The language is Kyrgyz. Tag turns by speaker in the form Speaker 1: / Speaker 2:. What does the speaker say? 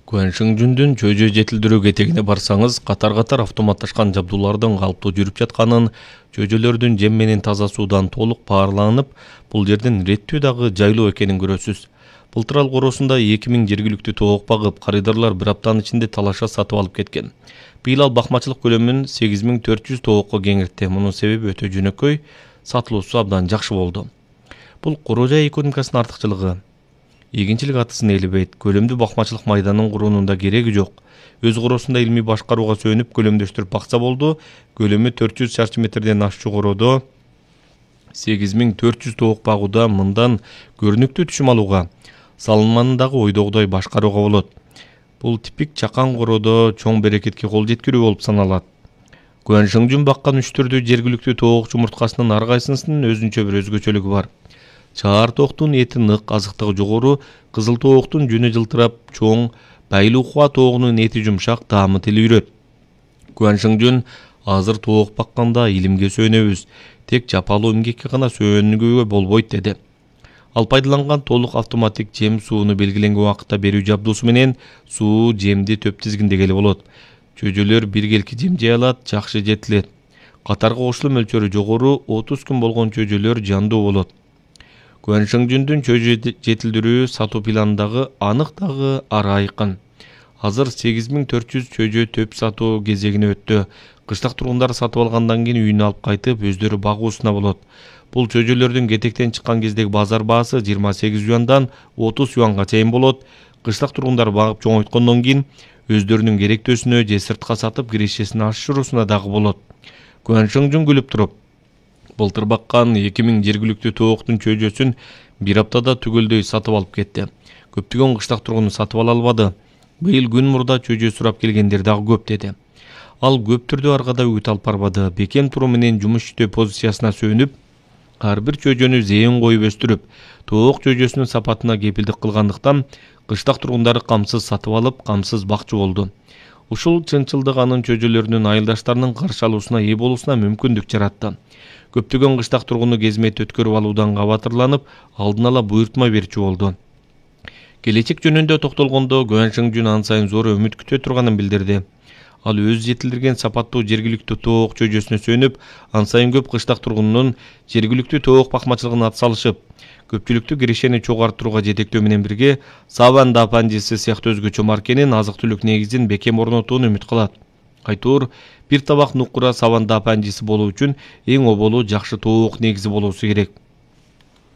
Speaker 1: Гуаншыңжүндүн чөйжө жетилдирүү кетегине барсаңыз, катар-катар автоматташкан жабдуулардын калыптуу жүрүп жатканын, чөйжөлөрдүн жем менен таза суудан толук паарланып, бул жердин реттүү дагы жайлуу экенин көрөсүз. Былтыр ал короосунда 2000 жергиликтүү тоок багып, карыдарлар бир аптанын ичинде талаша сатып алып кеткен. Быйыл ал бакмачылык көлөмүн 8400 тоокко кеңейтти. Мунун себеби өтө жөнөкөй, сатылуусу абдан жакшы болду. Бул коро жай экономикасынын артыкчылыгы. Эгинчилик атысын ээлебейт, көлөмдүү бакмачылык майданын курууунун да кереги жок. Өз короосунда илмий башкарууга сүйөнүп көлөмдөштүрүп бакса болду. Көлөмү 400 шарчы метрден ашчу короодо 8400 тоок багууда мындан көрүнүктүү түшүм алууга, салымын дагы ойдогудай башкарууга болот. Бул типик чакан короодо чоң берекетке кол жеткирүү болуп саналат. Гуаншыңжүн баккан 3 түрдүү жергиликтүү тоок жумурткасынын ар кайсынын өзүнчө бир өзгөчөлүгү бар. Чаар тооктун эти нык, азыктыгы жогору, кызыл тооктун жүнү жылтырап чоң, Байлуухуа тоогунун эти жумшак, таамы тилүүрөт. Гуаншыңжүн азыр тоок бакканда илимге сүйөнөбүз, тек жапалуу эмгекке гана сүйөнгөгө болбойт деди. Ал пайдаланган толук автоматик жем сууну белгиленген убакытта берүү жабдуусу менен суу жемди төп тизгиндегеле болот. Чөйжөлөр биргелки жем жей алат, жакшы жетилет. Катарга кошулуу мөлчөрү жогору, 30 күн болгон чөйжөлөр жандуу болот. Гуаншыңжүндүн чөйжө жетилдирүү сатуу планындагы анык дагы ары айкын. Азыр 8400 чөйжө төп сатуу кезегине өттү. Кыштак тургундар сатып алгандан кийин үйүнө алып кайтып, өздөрү багуусуна болот. Бул чөйжөлөрдүн кетектен чыккан кездеги базар баасы 28 юандан 30 юанга чейин болот. Кыштак тургундар багып чоңойткондон кийин өздөрүнүн керектөөсүнө же сыртка сатып кирешесин ашыруусуна дагы болот. Гуаншыңжүн күлүп туруп, былтыр баккан 2000 жергиликтүү тооктун чөйжөсүн бир аптада түгөлдөй сатып алып кетти. Көптөгөн кыштак тургуну сатып ала албады. Быйыл күн мурда чөйжө сурап келгендер дагы көп деди. Ал көп түрдүү аргада үгүт алып барбады. Бекем туруу менен жумуш иштөө позициясына сүйөнүп, ар бир чөйжөнү зээн коюп өстүрүп, тоок чөйжөсүнүн сапатына кепилдик кылгандыктан кыштак тургундары камсыз сатып алып, камсыз бакчы болду. Ушул чынчылдык анын чөйжөлөрүнүн айылдаштарынын каршы алуусуна ээ болуусуна мүмкүндүк жаратты. Көптөгөн кыштак тургуну кезмет өткөрүп алуудан кабатырланып, алдын ала буйртма берчү болду. Келечек жөнүндө токтолгондо Гуаншыңжүн ан сайын зор үмүт күтө турганын билдирди. Ал өз жетилдирген сапаттуу жергиликтүү тоок чөйжөсүнө сүйөнүп, ан сайын көп кыштак тургунунун жергиликтүү тоок бакмачылыгына атсалышып, көпчүлүктүү кирешени чогуу арттырууга жетектөө менен бирге Саван Дапанжиси сыяктуу өзгөчө маркенин азык-түлүк негизин бекем орнотууну үмүт кылат. Айтор, бир табак нукура Саван Дапанжиси болуу үчүн эң оболу жакшы тоок негизи болуусу керек.